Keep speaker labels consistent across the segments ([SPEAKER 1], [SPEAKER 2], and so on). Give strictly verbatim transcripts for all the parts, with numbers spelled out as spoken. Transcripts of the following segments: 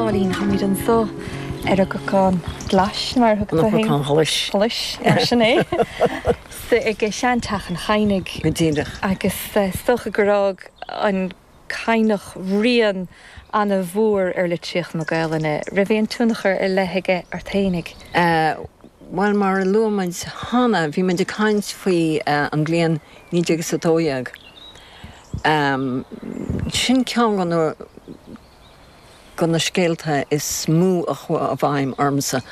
[SPEAKER 1] Phóilín, táimid anso ar an gCnocán Glais mar thug
[SPEAKER 2] An Cnocán Ghlais.
[SPEAKER 1] Ghlais mar sin é. Sa ag seanteach an Chadhnaigh.
[SPEAKER 2] Go díreach.
[SPEAKER 1] Agus is dócha gur fhág an Cadhnach rian an-mhór ar litríocht na Gaelainne. Raibh aon tionchar ar leith aige ort fhéinig?
[SPEAKER 2] Bhuel mar a luaigh muid cheana, bhí muid ag caint faoi an bhliain naoi déag is a dó dhéag. Sin ceann de na de na scéalta is mó a chuaigh i bhfeidhm ormsa,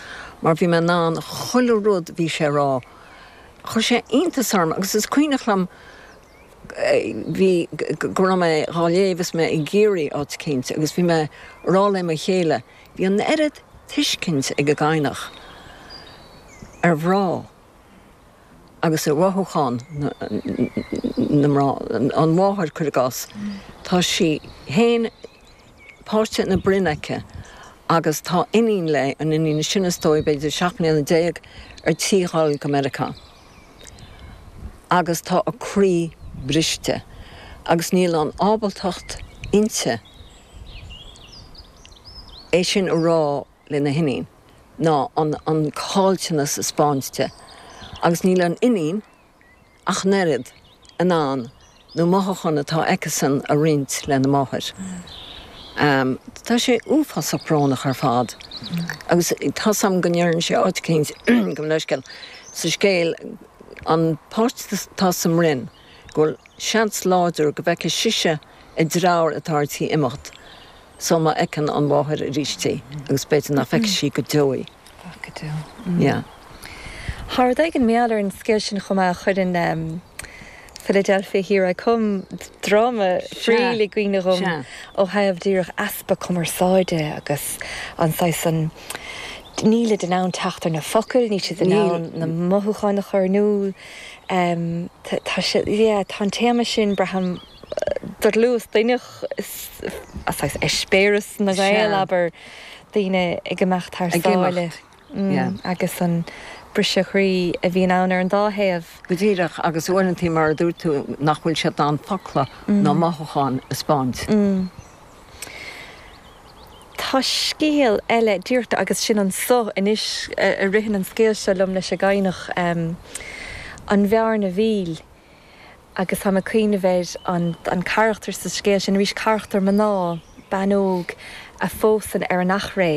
[SPEAKER 2] mar bhí mé in ann chuile rud bhí sé a rá. Chuir sé iontas orm agus is cuimhneach liom bhí go raibh mé dhá léamh is mé ag iarraidh áit eicínt agus bhí mé ag rá le mo chéile, bhí an oiread tuiscint ag an gCadhnach ar mhná agus ar mhothúcháin na mná, an mháthair cuir i gcás. Tá sí féin páiste ina broinn aici agus tá iníon léi, an iníon sin is dóigh b'fhéidir seacht mbliana déag ar tí dhul go Meiriceá. Agus tá a croí briste agus níl an ábaltacht inti é sin a rá lena hiníon ná an an caillteanas a 'speáint di, agus níl an iníon ach an oiread in ann na mothúcháin atá aici-san a roinnt lena máthair. Um, tá sé uafásach brónach ar fad. Agus tá sam go ndeireann sé áit eicínt go leisceil sa scéal an páiste tá sa mbroinn go bhfuil seans láidir go bhfeicfidh sise a deartháir atá ar tí imeacht, so má fheiceann an mháthair arís í agus b'fhéidir nach bhfeicfidh sí go deo í.
[SPEAKER 1] Go deo.
[SPEAKER 2] Yeah.
[SPEAKER 1] Tá rud éigin meall ar an scéal sin chomh maith a chuireann Philadelphia Here I Come dráma Friel i gcuimhne dhom ó thaobh díreach easpa cumarsáide agus an saghas an nílid in ann teacht ar na focail, níl siad in ann na mothúcháin a chur in iúl. Tá sé tá an téama sin braithim dlúth duineach saghas eispéireas na Gael abair daoine ag imeacht thar sáile. Agus an briseadh croí a bhíonn ann ar an dá thaobh.
[SPEAKER 2] Go díreach agus uaireanta mar a dúirt tú nach bhfuil siad in ann focla ná mothúcháin a 'speáint.
[SPEAKER 1] Tá scéal eile díreach agus sin anso anois a ritheann an scéal seo liom leis an gCadhnach an Bhearna Mhíl agus tá mé ag cuimhneamh ar an an carachtar sa scéal sin arís carachtar mná bean óg a phósann ar an Achréidh.